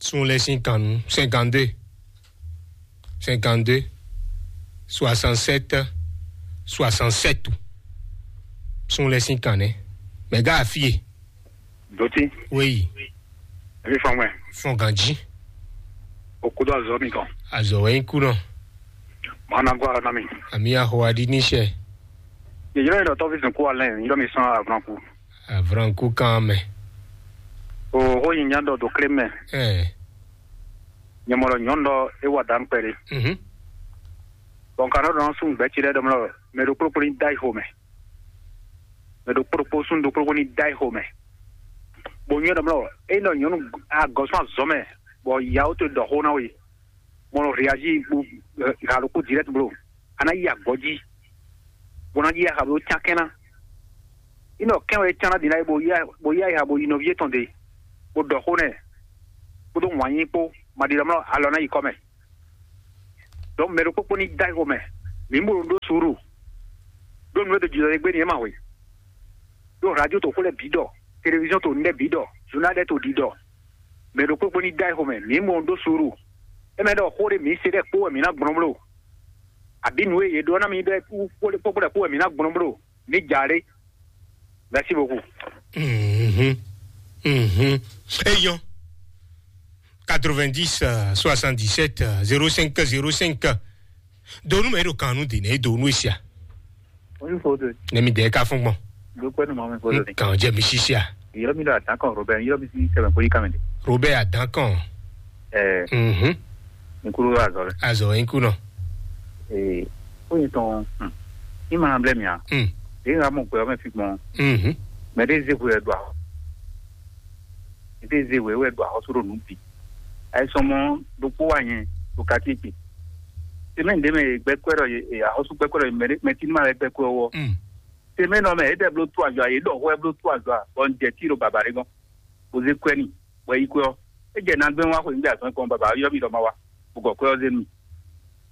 Sun lɛ sin kan nu cinquante-deux, cinquante-deux, soixante-sept, soixante-sept. Sun lɛ sin kan nɛ. Mɛ gá afie. Doti. Oui. Ebi fɔn mɛ. Fɔn ganji. Okudo azɔ mi kan. Azɔ wɛ nyi ku nɔ. Mana gwa na mi. Ami aho adi ni sɛ. Yeyɔrɔ yɛ dɔtɔ fi sɛn ku alɛ yɔrɔ mi sɔn avran ku. Avran ku kan mɛ. O ho yin nya dɔ do kle mɛ. Ɛ. Nyɛmɔlɔ nyɔnu dɔ e wa dan kpɛli. Mhm. Bɔn kan dɔ dɔn sun gbɛ ci dɛ dɔmlɔ mɛ do kplokplo ni da yi ho mɛ. Mɛ do kplokplo sun do kplokplo ni da yi ho mɛ. Bo nyɛ dɔmlɔ e nɔ nyɔnu agɔsɔn azɔ mɛ bɔ yawo to dɔ ho na we. Bɔ nɔ réagir bo ha ɖokpó direct blo. A ná yi agɔ̌ jí bó ná yi aha bó cán kɛ́n ná. Inɔ kɛn wɛ cán ná ɖi ná yi bó yi bó yi ayiha bó yi nɔví yětɔn ɖe bó ɖɔ xó nɛ kpódó wǎn yí kpó ma ɖi lɔmlɔ alɔ ná yi kɔ mɛ. Donc mɛ ɖokpó kpó ní da yi xomɛ mǐ mɔ ɖó suúru ɖó nǔ e ɖo jǐlɔ e gbé ni é ma hwe ɖó radio to xó lɛ bǐ ɖɔ, télévision to nɛ bǐ ɖɔ, journal lɛ to ɖi ɖɔ. Mɛ ɖokpó kpó ní da yi xomɛ mǐ mɔ ɖó suúru. É mɛ ɖɔ xó ɖé mǐ se ɖɛ kpó wɛ mǐ ná gblɔ́n bló. Àbí nǔ e yě ɖó ná mi ɖɔ kpókpó ɖɛ kpó wɛ mǐ ná gblɔ́n bló. Mǐ ja ɖé. Merci beaucoup. Mhm. Mhm. Eyɔn. Quatre-vingt-dix, euh, soixante-dix-sept, euh, zéro cinq, zéro cinq. Donu mɛ ɖo kan nu de ne donu esia. Oyin fo de. Ne mi de ka fún gbɔn. Do pɛ nu ma mi fo de. Kan jɛ mi sisia. Yɔrɔ mi ɖo atan kan Robert, yɔrɔ mi si sɛbɛn ko yi kan mi de. Robert atan kan. Ɛɛ. Mhm. Nkuru azɔ lɛ. Azɔ nkuru nɔ. Ee, oyin tɔn. Hmm. I ma blɛ mi a. Hmm. E ŋa mɔ gbɛ ɔmɛ fi gbɔn. Mhm. Mɛ de ze ko yɛ do a. Ete ze wɛ wɛ ɖo axɔ́sú ɖo nǔ bǐ. Ayisɔmɔ ɖokpó wa nyɛ ɖo kati ce. Tɛmɛ ɖe mɛ gbɛkpɛ ɖɔ ye axɔ́sú gbɛkpɛ ɖɔ ye mɛ tínú ma wɛ gbɛkpɛ ɔ́. Tɛmɛ nɔ mɛ ete bló tú azɔ a ye ɖɔ hwɛ bló tú azɔ a bɔ n jɛ tí ɖo baba ɖé gɔn. Bó zé kwɛ ni bɔ yi kwɛ ɔ́. E jɛ nagbɛn wa xwe nígbà sɔn kɔn baba yɔ mi ɖɔ ma wa. Bó gɔ kwɛ ɔ́ zé nu.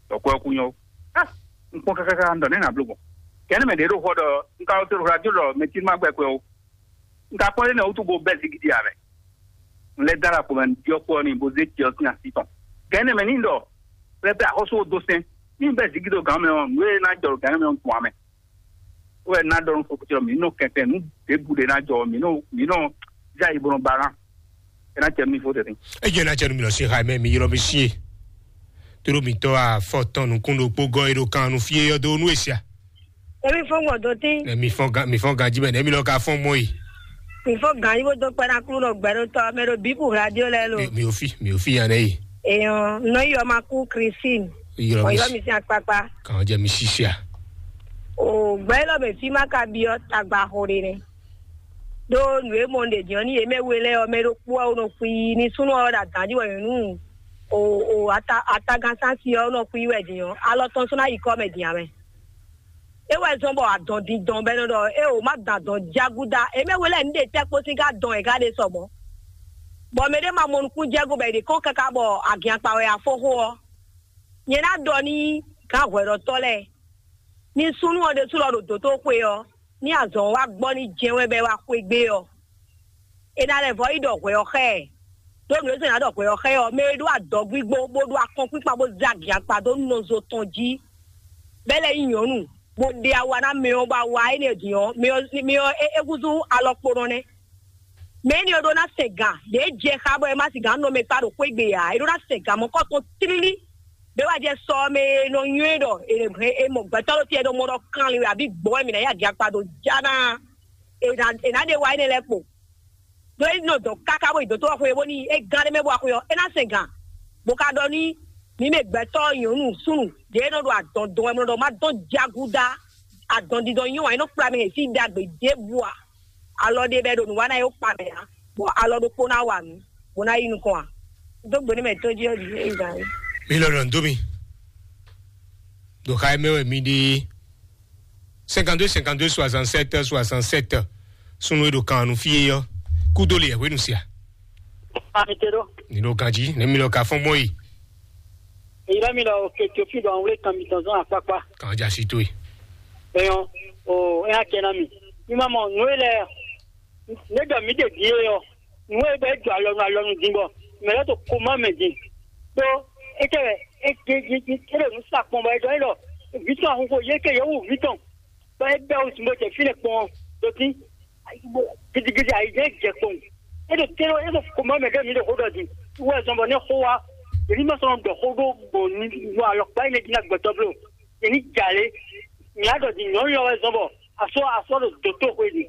Dɔ kwɛ ɔ́ kú nyɔ. Ah, n kpɔn kákáká n dɔ nɛ na bló gbɔn. Kɛnɛ mɛ ɖě ɖo xɔ ɖɔ n ka wɔ se ɖo radio ɖɔ mɛ tínú ma gbɛkpɛ o. N ka kpɔ́n ɖé nɛ́ wútu bó bɛ́ zigidi ǎ mɛ. Un lɛ́ dó alɔ kpɔmɛ ɖiɔ́kpɔ́ n'i bó zé cyɔ sín así tɔn. Gǎn énɛ́ mɛ ní ɖɔ pɛ́pɛ́ axɔ́sú ó dó sɛ́n. Ní bɛ́ zigidi ɖo gǎn mɛ ɔ́, nǔ e ná jɔ ɖo gǎn mɛ ɔ́ gbɔn ǎ mɛ. Ó wɛ ná ɖɔ nú fɔkútɔ́ mǐ nɔ kɛnklɛ́n nǔ ɖěbǔ ɖé ná jɔ mǐ nɔ mǐ nɔ zé ayi bó nɔ ba ná. É ná cɛ nú mì fó tɛ́ntin. Ejɛ ná cɛ nú mi lɔ sí xa mɛ mi ylɔ mi sí e. Tlóló mǐtɔn afɔtɔn nukún ɖokpó gɔ́ e ɖo kan nu fí e yɔ́ dó nú e sia. Emi fɔn gbɔ dɔn tɛn. Emi fɔn gan mi fɔn ganji mɛ nɛ mi lɔ ka fɔn mɔ yi. Mi fɔn gan yi bó dó kpɛ ná kúrú ɖɔ gbɛɖótɔ mɛ ɖo bíbù radio lɛ lo. Mi ò fi mi ò fi yan nɛ yi. Èèyàn nɔ yọ ma kú Christine. Yọrọ mi Ọ̀yọ́ mi sí akpakpa. Kàn jẹ mi ṣiṣẹ́ à. O gbɛ lɔ bɛ fi ma ka biɔ tagba xo de nɛ. Ɖó nǔ e mɔ ɖe diɔ ní yě mɛ we lɛ ɔ mɛ ɖokpó ɔ nɔ xwi ní súnú ɔ ɖo adǎn jí wɛ nyɔ̌nu o o ata atagán sási ɔ nɔ xwi wɛ din ɔ alɔ tɔn sɔ́ ná yi kɔ mɛ din amɛ. É wɛ zɔn bɔ adɔn dindɔn bɛ nɔ ɖɔ é o má dɔn adɔn jágúdá é mɛ we lɛ ní ɖe tɛ́ kpó sín ká dɔn ɛ ká ɖe sɔmɔ. Bɔ mɛ ɖé ma mɔ nukún jɛ́gú bɔ è ɖe kɔn káká bɔ agiankpa wɛ afóxó ɔ. Nyɛ ná ɖɔ ní gǎn hwɛɖɔtɔ́ lɛ́ɛ ní súnnu ɔ ɖésú lɔ ɖo dǒtóxwe ɔ ní azɔn wá gbɔ ní jɛ́n wɛ bɔ é wá xwé gbé ɔ. È ná lɛ́ vɔ yi ɖɔ hwɛ ɔ xá ɛ. Ɖó nǔ e zɔ́n nya ɖɔ hwɛ ɔ́ xɛ ɔ́, mɛ e ɖó adɔgbígbó bó ɖó akɔnkpíkpa bó zé agiakpa dó nɔzo tɔn jí, bɛ́ lɛ́ nyí nyɔ̌nu, bó ɖe awa ná mɛ ɔ́, bó awa énɛ́ din ɔ́, mɛ ɔ́ mɛ ɔ́ é é húzú alɔkponɔ nɛ́. Mɛ énɛ́ ɔ́ ɖó ná sɛn gǎn, ɖě jɛ xá bɔ é má sin gǎn nɔ mɛ kpá ɖo xwé gbe ǎ, é ɖó ná sɛn gǎn mɔ̌kɔtɔn tlílí. Bɛ́ wá jɛ sɔ ɔ́ mɛ e nɔ nywɛ́ ɖɔ è è mɔ gbɛtɔ́ ɖo tɛ́ ɖo mɔ ɖɔ kanlin wɛ abǐ gbɔn wɛ mǐ ná yi agiakpa ɖo já ná, è nǎ è nǎ ɖe wa énɛ́ lɛ́ɛ kpo. Ɖó é nɔ dɔn káká bó yi dǒtó ɔ́ xwé bónú é gán ɖé mɛ bó wá xwé ɔ́, é ná sɛn gǎn, bó ka ɖɔ ní mǐ mɛ gbɛtɔ́ nyɔ̌nu súnnu ɖě e nɔ ɖo adɔn dɔn wɛ mlɔ ɖɔ má dɔn jágúdá adɔn didɔn nyɔ́ ǎ, é nɔ kplá mɛ hɛn sí ɖagbe ɖěbǔ ǎ. Alɔ ɖé bɔ é ɖo nǔ wa ná é wó kpa mɛ ǎ, bɔ alɔ ɖokpó ná wa nǔ, bó ná yi nukɔn ǎ. Dó gbe nú mɛ tó jí ɔ́ jí é yi gǎn é. Mi lɔ ɖɔ nǔ dó mi. Ɖo xa e mɛ wɛ mi ɖe. Cinquante-deux cinquante-deux soixante-sept soixante-sept. Sunu e ɖo kan nu fí é ɔ́, kúdó le hwenu sia. Amiteɖo. Ni ɖo ganji ne mi lɔ ka fɔn gbɔn yi. Èyí mi lɔ òkè tó fi ɖɔ àwọn wúlé kan mi tɔn zɔn àpápá. Kan ja si tó yi. Ẹyọ o ẹ á kẹ ná mi. Mi ma mọ nǔ e lɛ ne ɖɔ mi ɖe din e ɔ nǔ e bɛ jɔ alɔnu alɔnu din bɔ mɛ lɛ to koma mɛ din. Ɖó e kɛ wɛ e ke e ke e ɖo nu sa kpɔn bɔ e ɖɔ e ɖɔ vǐ tɔn ahunxo yě kɛ yě wu vǐ tɔn. Bɔ é bɛ́ wǔ bó jɛ fínɛ́ kpɔ́n ɔ́, ɖo fí gidigidi ayǐjínjɔ́n jɛ kpɔ́n. É ɖo tɛ́nɔ é ɖo xomɛ mɛ ɖé mi ɖo xó ɖɔ din. Wú wɛ zɔn bɔ nɛ́ xó wá, yě ní ma sɔ́ nɔ ɖɔ xó ɖó gbɔn nu alɔkpa énɛ́ jí ná gbɛtɔ́ bló. Yě ní jà lé. Nyǐ á ɖɔ din nyɔ̌nu lɔ wɛ zɔn bɔ asɔ asɔ ɖo dǒtóxwé din.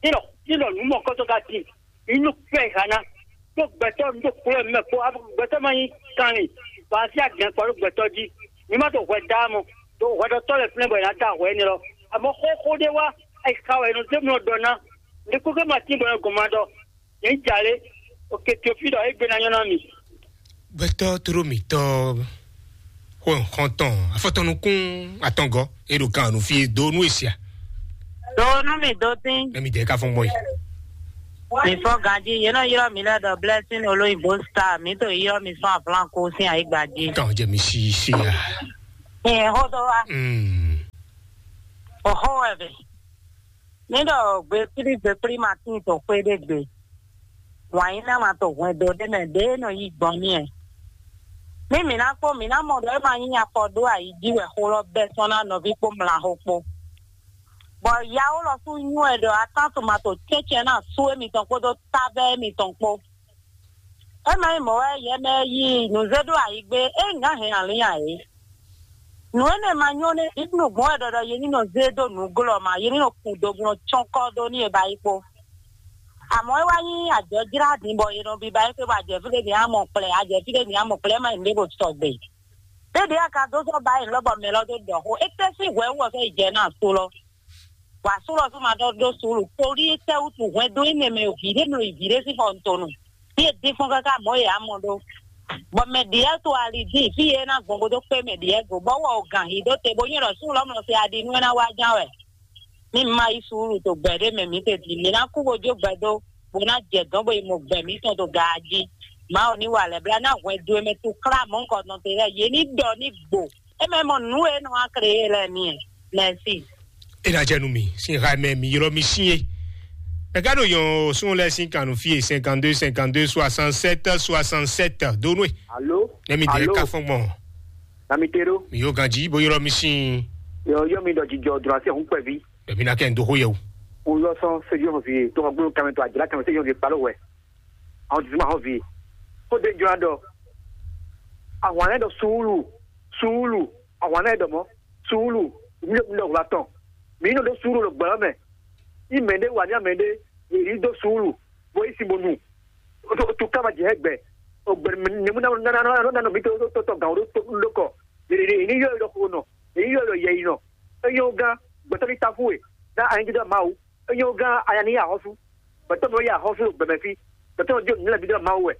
Ní ɖɔ ní ɖɔ nǔ mɔ̌kɔ́tɔ́ ka tin. Inú kpɛ́ ha ná. Ɖó gbɛtɔ́ ɖó kplɔ́ mɛ kpó gbɛtɔ́ ma nyí kanlin, bɔ así agɛn kpɔ ɖó gbɛtɔ́ jí. Mi ma ɖo hwɛ dá mɔ, ɖo hwɛɖɔtɔ́ lɛ́ɛ flɛ́n bɔ è nǎ da hwɛ énɛ́ lɔ. Amɔ̌ xóxó ɖé wá, è xa wɛ è nɔ zé mlɔ ɖɔ ná. Ɖě kúkú ma tín bɔ è nɔ gɔn ma ɖɔ. Nyɛ nyí jà lé, oke Teofíɖɔ égbé ná nyɔ́ ná mi. Gbɛtɔ́ tló mǐtɔn xó nǔxɔ́ntɔn afɔtɔnukún atɔngɔ́ e ɖo kan nu fí e dó nú e sia. Do nú mi dó tín. Nɛ mi dɛ ka fɔn gbɔn yi. Mi fɔ ganji yé nɔ yrɔ mi lɛ dɔ blessing olóyìnbó star mi to yrɔ mi sɔn aflanko sin ayigba ji. Kan jɛ mi si si ya. Ẹ hodo wa. Mm. Oho ẹbẹ. Mi ɖɔ gbekpli gbekpli ma tín to xwé ɖé gbe. Wǎnyíná ma to hwɛndo ɖé mɛ ɖě nɔ yi gbɔn n'i ɛ. Mí mǐ ná kpó mǐ ná mɔ ɖɔ é ma nyí afɔ ɖó ayi jí wɛ xó lɔ bɛ́ sɔ́ ná nɔví kpó mlaxó kpó. Bɔ yawo lɔ sú nywɛ́ ɖɔ atántuma to cɛ́cɛ́ ná sú émitɔn kpódó tábɛ́ émitɔn kpó. É ma nyí mɔ̌ wɛ yɛ mɛ e yi nǔ zé ɖó ayi gbé é ná hɛn alǐn ǎ é. Nǔ énɛ́ ma nyɔ́ nɛ́, Bíblu gbɔn wɛ ɖɔ ɖɔ yě ní nɔ zé dó nǔglɔ́ ma, yě ní nɔ kun doglɔ́ cɔ́nkɔ́ dó ní e ba yi kpó. Àmọ́ é wá nyí àjɔjlá din bɔ è nɔ biba é xwé bɔ ajɛ̌fí ɖé mǐ á mɔ kplɛ, ajɛ̌fí ɖé mǐ á mɔ kplɛ, é má nyí nǔɖé ɖo sɔgbe. Ɖéɖéé a ka dó sɔ́ ba é lɔ́bɔ mɛ lɔ dó ɖɔ xó, é tɛ́ sín hwɛ wú wɛ fɛ́ yi jɛ ná asú lɔ. Bɔ asú lɔ sú ma ɖɔ ɖó suúlu, torí é tɛ́ wútu hwɛndo énɛ́ mɛ vǐ ɖé mlɔ yi vǐ ɖé sín xɔ tɔn nu. Fí e dín fɔ́n káká mɔ̌ yě á mɔ ɖó. Bɔ mɛ ɖěe to ali dín fí e é ná gbɔn bó dó kpé mɛ ɖěe go, bɔ wɔ o gǎn hí ɖó te bó nyɔ́ ɖɔ súnnu lɔmɔ̌ se aɖi nú é ná wá ján wɛ. Ní ma yí suúlu to gbɛ ɖé mɛ mǐ tedin, mǐ ná kú bó jó gbɛ dó, bó ná jɛ dɔ̌n bó yi mɔ gbɛ mǐtɔn to gaa jí. Mawu ní wa lɛ̌ blá ná hwɛndo e mɛ to klá mɔ̌hunkɔtɔn te lɛ́ɛ, yě ní ɖɔ ní gbo. É mɛ mɔ nǔ e nɔ wá klé e lɛ́ɛ mi ɛ. Mɛsi. E ná jɛ nú mi sín ha mɛ mi ylɔ́ mi sín é. Mɛ ka ɖo nyɔ sún lɛ́ɛ sín kan nú fí e cinquante-deux cinquante-deux soixante-sept soixante-sept dó nú e. Alo. Ne mi dɛ alo. Ka fɔn gbɔn. Na mi te ɖo. Mi yóò ganji bó ylɔ́ mi sín. Yɔ yɔ mi ɖɔ jijɔ dùn asi hun kpɛvi. Bɛbi na kɛ n do xó yɛ o. N yɔ sɔn sejɔ hɔn fi to hɔn gbolo kɛmɛ to ajala kɛmɛ sejɔ hɔn fi kpalo wɛ. Àwọn tuntun máa hɔn fi. Kó de jɔ adɔ. Àwọn alẹ́ dɔ suúlù suúlù àwọn alẹ́ dɔ mọ́ suúlù mi ló mi lọ wla tɔn. Mi nɔ ɖó suúlù lɔ gbɛlɔ mɛ. Ní mɛ ɖé wà ní amɛ ɖé yě yi dó suúlù bó yi sin bó nu. Otu kama jɛ hɛ gbɛ. Ogbɛ nemu na na na na na mi to to to gan o to to kɔ. Yèrè yèrè ní yɔ yɔ ko nɔ. Èyí yɔ yɔ yɛ yi nɔ. Eyɔn gán gbɛtɔ ní tafu e. Na anyi dídá Mawu. Eyɔn gán aya ní yà hɔsu. Gbɛtɔ mi yà hɔsu gbɛmɛ fi. Gbɛtɔ mi di òní lɛ dídá Mawu wɛ.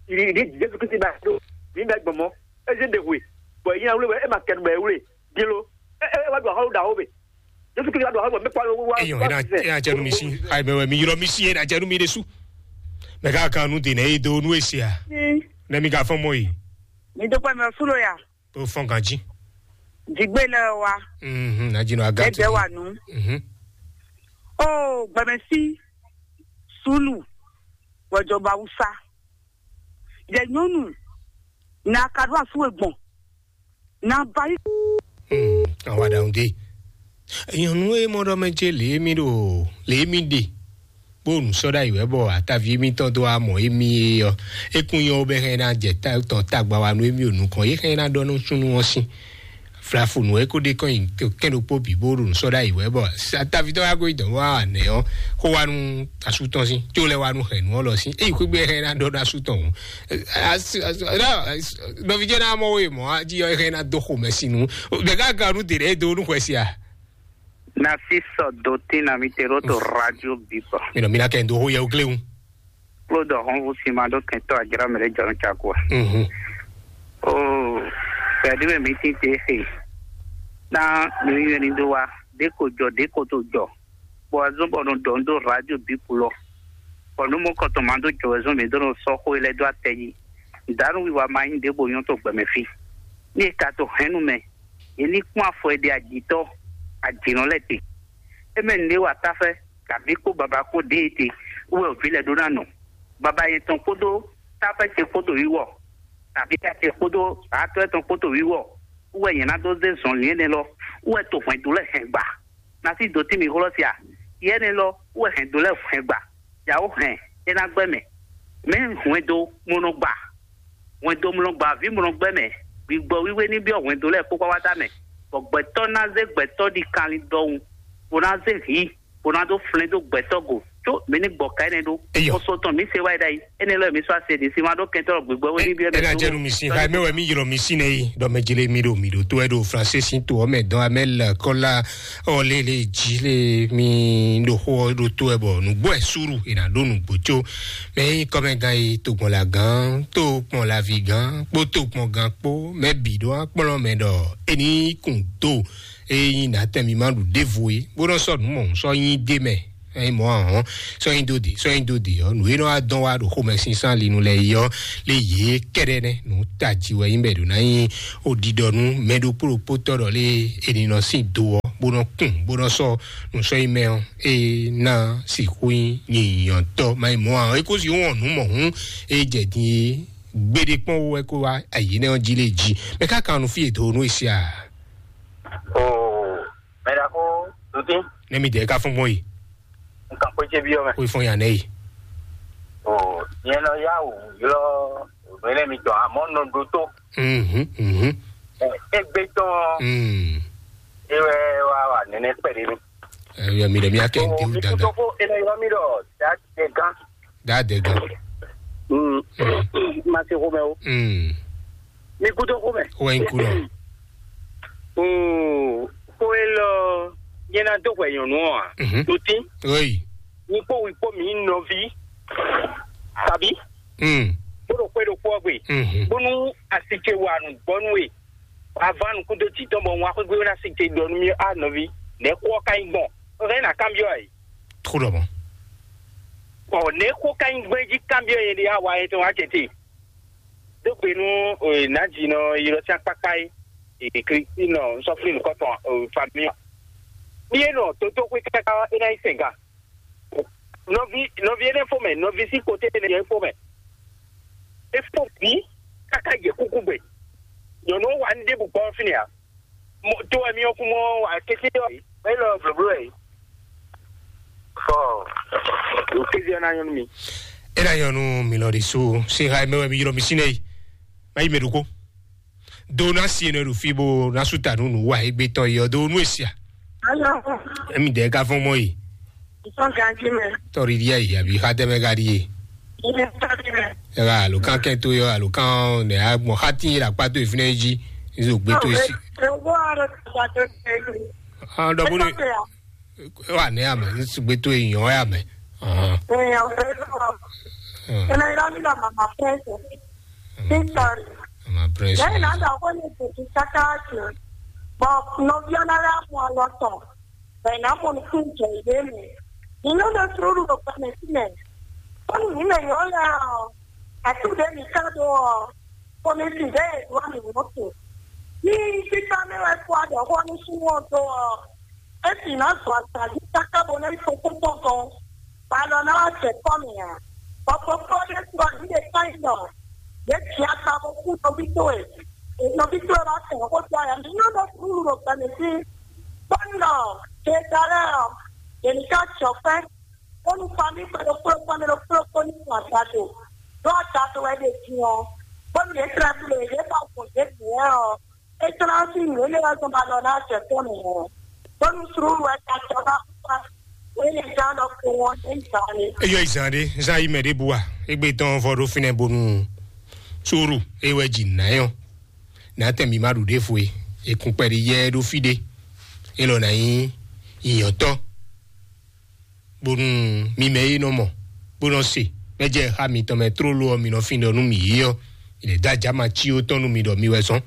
Yìí ní Jésù Kristi bá yà dó. Ní bɛ gbɔmɔ. Ezi ɖe hwe. Bɔ yìí yà wúlò wɛ ẹ ma kẹnu bɛ wúlò. Di lo. Ẹ ẹ wá do ahɔlu da wo bɛ. Jésù Kristi wá do ahɔlu bɛ mɛ kpalo wá. Eyɔn wá ena ena jɛnu mi si. Ayi mɛ wɛ mi yrɔ mi si ena jɛnu mi de su. Mɛ ka kan nu de nɛ ye do nu esi a. Nɛ mi ka fɔn mɔ yi. Mi do pɛ mɛ fúlò ya. Tó fɔn ganji. Jigbe lɛ wa. Mhm, na jinɔ aga. Ẹgbẹ́ wa nu. Mhm. Oh, gbẹmẹsí sùlù wẹjọba Hausa. Jɛ nyɔnu, na ka ɖo asu e gbɔn. Na ba yi. Hmm, awa ɖaŋu dé. Nyɔnu e mɔ ɖɔ mɛ ce lě mi ɖo lě mi ɖe. Bó nu sɔ́ ɖ'ayǐ wɛ bɔ ataví émítɔn dó wá mɔ émí é ɔ́, é kún nyɔ́ bɛ hɛn ná jɛ tɔn tagba wa nú émí o nukɔn é hɛn ná ɖɔ nú súnnu ɔ́ sín. Flafunu e ko ɖe kɔn nyi kɛn ɖokpó bǐ bó ɖo nǔ sɔ́ ɖ'ayǐ wɛ bɔ atavitɔ wá gɔ́ yi dɔ̌n wá nɛ̌ ɔ́, xó wá nú asú tɔn sín, tó lɛ́ wá nú hɛ̌nnu ɔ́ lɔ sín. Ényí xwé gbe hɛn ná ɖɔ nú asú tɔn hǔn, nɔví jɛ ná mɔ wé mɔ̌ jí ɔ́ hɛn ná dó xomɛ sín nú. Bɛ̌ ká ganu dě ɖɛ́ dó nú xwɛ sia. Na si sɔ dotin na mi te ɖo to radio bipɔ. Mi nɔ mi na kɛ ndo ho yɛ o gléwu. Kplɔ́ dɔ hɔn vo si ma ɖo kɛntɔ ajra mɛ ɖe jɔn cakua. Mhm. O, fɛdi mɛ mi tin te xe. Na mi yɔ ni do wa, de ko jɔ, de ko to jɔ. Bɔ azɔn bɔ no dɔ do radio bipu lɔ. Bɔ nu mɔ kɔtɔ ma do jɔ wɛ zɔn mi do no sɔ xo lɛ do atɛ yi. Danu wiwa ma nyi de bo nyɔ to gbɛmɛ fi. Ni e ka to hɛn nu mɛ. Ye ní kpɔ́n afɔ e ɖe ajǐtɔ́ ajǐnɔ lɛ́ɛ te. É mɛ nǔɖé wa táfɛ́, kabǐ kpó babá kpó ɖěe te, wú wɛ vǐ lɛ́ɛ ɖó ná nɔ. Baba nyɛ tɔn kpódó táfɛ́ ce kpódó wíwɔ, kabǐ ta ce kpódó atɔ́ tɔn kpódó wíwɔ, wú wɛ nyɛ ná dó zé zɔnlin énɛ́ lɔ, wú wɛ to hwɛndo lɛ́ɛ hɛn gba. Ná sí dǒ tín mì hlɔ́ sia, yɛ énɛ́ lɔ, wú wɛ hɛndo lɛ́ɛ hɛn gba. Yǎwo hɛn é ná gbɛ́ mɛ. Mɛ̌ hwɛndo mlɔ gba? Hwɛndo mlɔ gba, vǐ mlɔ gbɛ́ mɛ. Gbigbɔ wíwé ní byɔ́ hwɛndo lɛ́ɛ kpó kpákpátá mɛ, bɔ gbɛtɔ́ ná zé gbɛtɔ́ ɖi kanlin ɖɔhun, bó ná zé hǐ, bó ná dó flɛ́n dó gbɛtɔ́ go. Có mǐ ní gbɔ ka énɛ́ ɖó. Eyɔ. Xɔ́sɔ tɔn mǐ se wá yi ɖ'ayǐ. Énɛ́ lɛ́ɛ mǐ sɔ́ ase ɖě sí ma ɖó kɛntɔ́ gbǐgbɔ wé ní byɔ́ mɛ. Ena jɛnu mi sin xayi mɛ wɛ mi ylɔ mi sin nɛ yi ɖɔ mɛ jele mi ɖo mi ɖo to wɛ ɖo français sin to ɔmɛ dɔn amɛ lɛ kɔla ɔ lele ji le mi ɖo xo ɔ ɖo to wɛ bɔ nugbo ɛ suru ena ɖo nugbo tso mɛ yi kɔmɛ gan yi to gbɔn la gan to kpɔn la vi gan kpo to kpɔn gan kpo mɛ bi ɖo akplɔ mɛ ɖɔ eni kun do eyi na tɛ mi ma ɖu ɖevo yi bó nɔ sɔ nu mɔ sɔ nyi de mɛ. Ɛ mɔ ahɔn sɔnyi dó de sɔnyi dó de ɔ nǔ e nɔ wá dɔn wá ɖo xomɛ sínsán linu lɛ yi ɔ lé yě kɛɖɛ nɛ nǔ tají wɛ nyí bɛ ɖo ná nyí oɖiɖɔ nú mɛ ɖokpó ɖokpó tɔ ɖɔ lé e ní nɔ sín do ɔ bó nɔ kún bó nɔ sɔ nǔ sɔnyi mɛ ɔ e ná sixú nyí nyǐnyɔ́tɔ má nyí mɔ ahɔn é kó si wɔn nǔ mɔ hǔn e jɛ din e gbéɖé kpɔ́n wɛ kó wá ayǐ nɛ ɔ jí lé jí mɛ ká kan nú fí e do nú e sia. Oo, mɛ ɖaxó Dutí. Ne mi dɛ ka fún gbɔn yi. Nǹkan pé ṣe bí ọmọ. Kó fún yàn nẹ́yì. Ò, ìyẹn lọ yá wò ylọ́ òmìnira mi tọ̀ àmọ́ nọ ɖó tó. Mhm, mhm. Ẹ, égbé tán Mm. Ewé wá wà nínú pẹ̀lú mi. Ẹ yọ mi lè mi akẹ́ ń tẹ́wù Ò, mi dandan. Kútó kó ilẹ̀ yọ mi lọ, dá jẹ gán. Dá dẹ gan. Mm. Ma ṣe kó mẹ́ o. Mm. Mi kútó kó mẹ́. Ó wá ń kú lọ. Mm. Kó e lọ, yẹn na dó hwɛ nyɔnu ɔ a? Mhm. Tó tí. Oyi. Ní kpó wí kpó mi nɔví. Tàbí? Mm. Kpóɖo kpé ɖokpó ɔ́ gbe. Mhm. Bónú asike wà nù gbɔnú e. Wà á ván nukún dó tì tɔn bɔ wọn akwégbé ná sike ɖɔ nú mi a nɔví. Nɛ̌ kó ɔ́ ka nyí gbɔn? Ó hɛn ná kanbyɔ́ ɛ. Tró lɔ mɔ. Ɔ, nɛ̌ kó ka nyí gbɔn é jí kanbyɔ́ yẹn ɖe á wa yẹn tɔn wá tɛ́ntin? Dó gbe nú, eh, nǎjínɔ ylɔ́ sín akpákpá é, eh, Kristín nɔ nsɔ́flín nukɔntɔn, eh, família. Ní é nɔ tótóxwé káká é ná nyí sɛn gan. Nɔví, nɔví énɛ́ fó mɛ, nɔví sín koté énɛ́ é fó mɛ. É fó bǐ káká yě kúkú gbe. Nyɔ̌nu ɔ́ wa nú ɖěbǔ gbɔn fínɛ́ ǎ. Mo, tó wɛ mi ɔ́ kún mɔ wà kété ɔ́. Mɛ lɔ blǒbló wɛ. Fɔ, o kéde ɔ́ ná nyɔ́ nú mi. E ná nyɔ́ nú mi lɔ ɖi sú. Sin ha mɛ wɛ mi ylɔ mi sín nɛ yi. Má yi mɛ ɖokó. Do ná si enɔ ɖo fí bó ná sú ta nú nǔ wa égbé tɔn yi ɔ́ do nú esia. Alo. Emi dɛ ka fɔn mɔ yi. Nsɔn ganji mɛ. Tɔri dia yi abi xa tɛ mɛ ka ɖi ye. Ilé tɔri mɛ. Ɛ ka alo kan kɛ to yɔ alo kan ne a gbɔn xa ti yi la kpa to yi fi nɛ yi dzi. Nzo gbe to yi si. Ewo alo kpa to yi. Ah, dɔ bo ne. Ewa ne ame nsugbe to yi yɔn ya mɛ. Ahɔn. Èèyàn ò fẹ́ lọ. Ẹnlẹ́ irọ́ nílò màmá pẹ́ẹ́sì. Sísọ̀rì. Ama prince. Lẹ́yìn náà, dàgbọ́ ní ìtòkì kákáàkì. Bọ̀ nọ́bí ọ̀nàrà mú ọ lọ tọ̀. Bẹ̀rẹ̀ náà mo ní kí n jẹ ìwé mi. Inú ló sùúrù ló pa mi sílẹ̀. Ó ní ìmọ̀ èèyàn ó yà ọ́. Àtúndé mi ká dó ọ. Kò ní sì bẹ́ẹ̀ ìlú àmì mọ́tò. Ní títà mi wẹ́ kó àdọ̀kọ́ ní súnmọ́ tó ọ. Esi na zɔ agbadzi kaka bo na yi koko kpɔkɔ. Ba lɔ na wa jɛ kɔ mɛ a? Bɔbɔ kɔ ɖe sɔ yi ɖe ka yi nɔ. Yě jɛ akpa bó kú nɔví towe. Nɔví towe bá tẹ̀ kó tó ayà mí. Nyɔ́ ɖɔ kúrú ɖo gbɛmɛ sí. Bọ́nà, Jezalɛ́m, yě ní ká jɔ fɛ́. Bónú famí kpɛɖokpó kpɛɖokpó ní fún àgbàdo. Ɖó àgbàdo wɛ ɖe din ɔ́. Bónú yě tlɛ kúlò yě bá gbɔn yě bǐ wɛ ɔ́. É tlá sí nǔ énɛ́ wɛ zɔn ba lɔ ná jɛ tɔ́ nǔ ɔ́. Bónú slúlu wɛ ka jɔ bá kú wá. Wéne gán ɖɔ kó wɔn é zǎn é. Eyɔ izan ɖe, zan yi mɛ ɖe bua. Egbe tɔn vɔ ɖo finɛ bonu suru ewɛ dzi nayɔ. Natɛ mi ma ɖu ɖe fue. Ekun kpɛ ɖe yɛ ɖo fi ɖe. Elɔ na yi yiyɔtɔ. Bonu mi mɛ yi nɔ mɔ, bó nɔ se. Mɛ jɛ xa mitɔn mɛ tlóló ɔ, mi nɔ fin ɖɔ nú mi yi ɔ. Ilẹ̀ dá jama cí ó tɔn nú mi ɖɔ mi wɛ sɔn.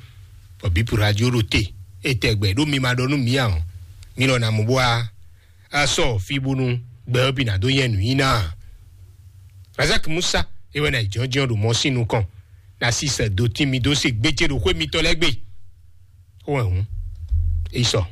Bɔ bí pura jí ó ɖo te. Etɛgbɛ ɖó mi ma ɖɔ nú mi ǎ ɔ́, mi lɔ na mɔ bó a asɔ fi bónú gbɛ ɔ́ bǐ ná dó nyɛ nǔ nyi ná. Razak Musa, ewɛ ná jɔnjɔn ɖo mɔ sín nukɔn. Na si sɛ do tín mi dó se gbéjé ɖo xwé mitɔn lɛ́ɛ gbe. Ó wɛ hǔn. Esɔ.